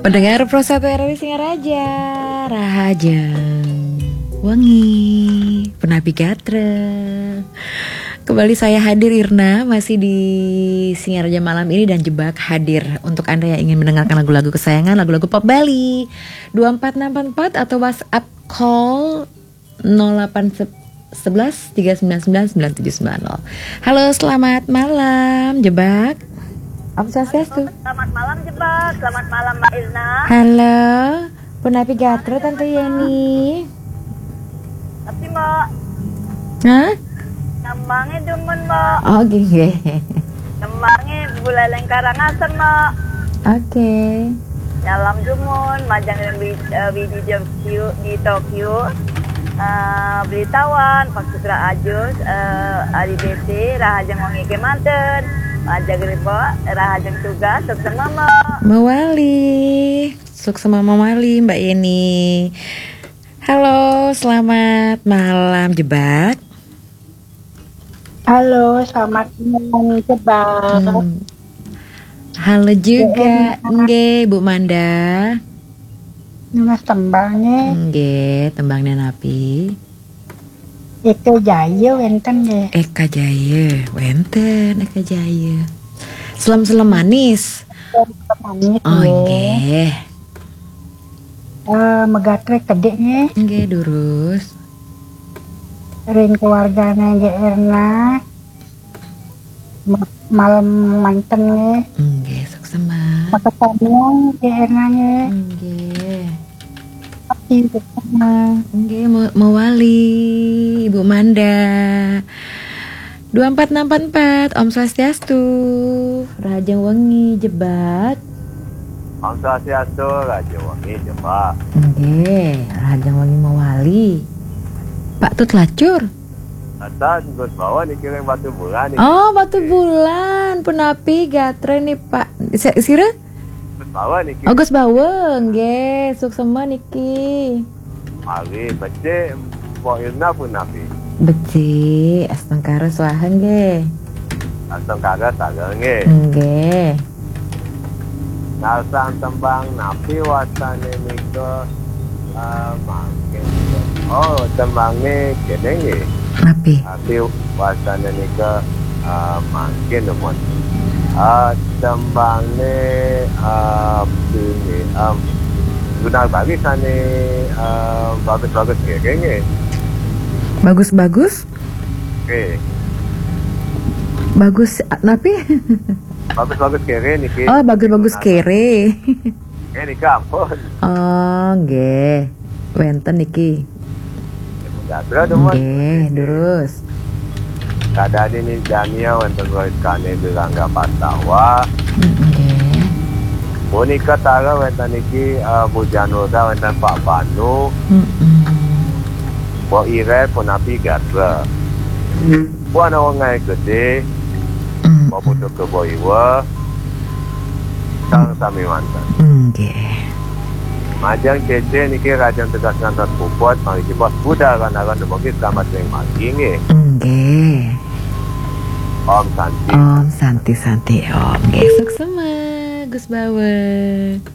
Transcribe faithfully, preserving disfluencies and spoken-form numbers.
Pendengar Pro satu R R I Singaraja, Rahajeng Wengi, Penapi Gatra. Kembali saya hadir, Irna, masih di Singaraja malam ini, dan Jebak hadir untuk Anda yang ingin mendengarkan lagu-lagu kesayangan, lagu-lagu pop Bali. Dua empat enam empat empat atau WhatsApp call nol delapan sebelas tiga sembilan sembilan sembilan tujuh sembilan nol. Halo, selamat malam, Jebak. Om Swastiastu. Selamat malam, Jebak. Selamat malam, Mbak Irna. Halo, Punapi Gatra, Tante Yeni. Tapi, Mbak, Hah? Tembangnya dumun, Mbak. Oh, gini. Tembangnya Buleleng Karangasem, Mbak. Oke. Nyalam dumun, majang di, eh, di Tokyo, di Tokyo. Eh, beritawan, Pak Sutra Ajus, eh, Adi Besi, Rahajeng Wengi kemanten. Majang di, Mbak, Rahajeng tugas, sukses, Mbak. Mawali. Suksema mawali, Mbak Yeni. Halo, selamat malam, Jebak. Halo, selamat malam, Jebak. Hmm. Halo juga, nggih, Bu Manda. Nunas tembangnya. Nggih, tembangnya napi? Eka Jaya wenten nggih. Eka Jaya, wenten Eka Jaya. Selem-selem manis. Manis, Oh, nggih. Nggih. Eh, megatre kedik nggih. Nggih, durus. Ring keluargane nggih Erna. Ma- Malam manten nggih. Nggih, suksema. Makasamian nggih Erna nggih. Nggih. Tapi suksema. Nggih, mau, mawali, Ibu Manda. Dua empat enam empat empat, Om Swastiastu. Rahajeng Wengi, Jebak. Om Swastiastu, Rahajeng Wengi, Jebak. Nggih, Rahajeng Wengi mawali. Pak Tut Lacur. Kata Gus Bawa niki ring Batubulan niki. Oh, Batubulan, punapi gatre nih, Pak? Si-, sira? Gus Bawa niki. Oh, Gus Bawa, nggih, suksema niki. Mari, becik, Mbok Irna punapi? Becik, astungkara swaha nggih. Astungkara sareng nggih. Nggih. Narsang tembang napi wastane nika, eh, mangkin. Oh, tembange kene nggih. Napi? Napi wastane nika, eh, mangkin, mon. Eh, tembange, eh, pini, em, Gunar Bali sane, eh, bagus-bagus kene nggih. Bagus-bagus? Oke. Bagus napi? Bagus-bagus kere niki. Oh, bagus-bagus kere. Eh, nika ampun. Oh, nggih. Wenten niki. Gatra demen. Nggih, durus. Kadadini Dania wenten Roy Kane Birangga Pastawa. Mm, nggih. Punika tara wenten niki, eh, Bu Janurda wenten Pak Banu. Mm-mm. Mbok Iret punapi gatra. Bu Ana Wengai Gede. Mm. Mbok Putu Kebo Iwa. Sareng sami manten. Nggih. Majeng Cece niki Rahajeng tugas ngantos puput, mangke Jebak budal ran-ran dumugi selamat ring margi nggih. Nggih. Om Santi. Om Santi Santi Om. Nggih, suksema, Gus Bawa.